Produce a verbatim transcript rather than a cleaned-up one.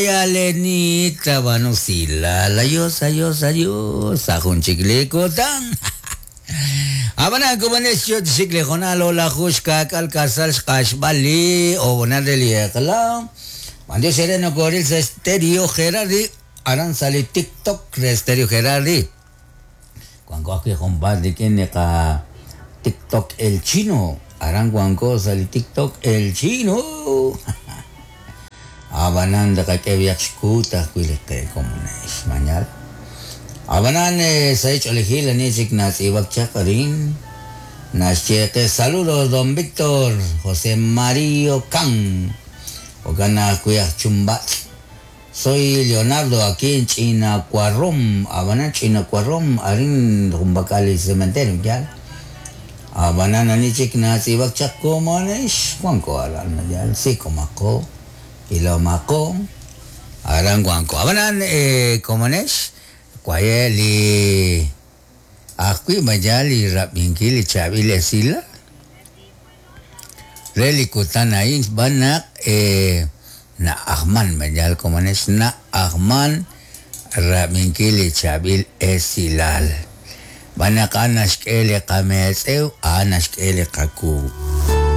Alenita Banusila, adiós, adiós, adiós, sa junchik kutan. Abana kumanes yo chikle jonalo la jushka kal kasal xqaxbali o bonadeli eqla. Mandio sereno koril Stereo Gerardi, aran sali TikTok de Stereo Gerardi. Cuando aquí compadre tiene ka TikTok el chino, aran cuanco sali TikTok el chino. Abanan de kak'ebiaq xkuta kuiliqe komunex mañal. Abanan saich olijil anichik natz'ibak chaqarin. Naxcheqe saludos don Víctor José Mario Can. Okana kuyaj chumbat. Soy Leonardo aquí en Chinacuarrom. Abanan Chinacuarrom arin rumbakali cementerio ya. Abanan anichik natz'ibak chaq komunex Juanco aran ya sí comako. Y lo mako aran guanco abanan eh komonex kwaye li ajwi mayal li rabinki li chabil esila reli kutan ain banak eh na ahman mayal komonex na ahman rabinki li chabil esilal banak anaxk'eli qametz'ew anaxk'eli qaku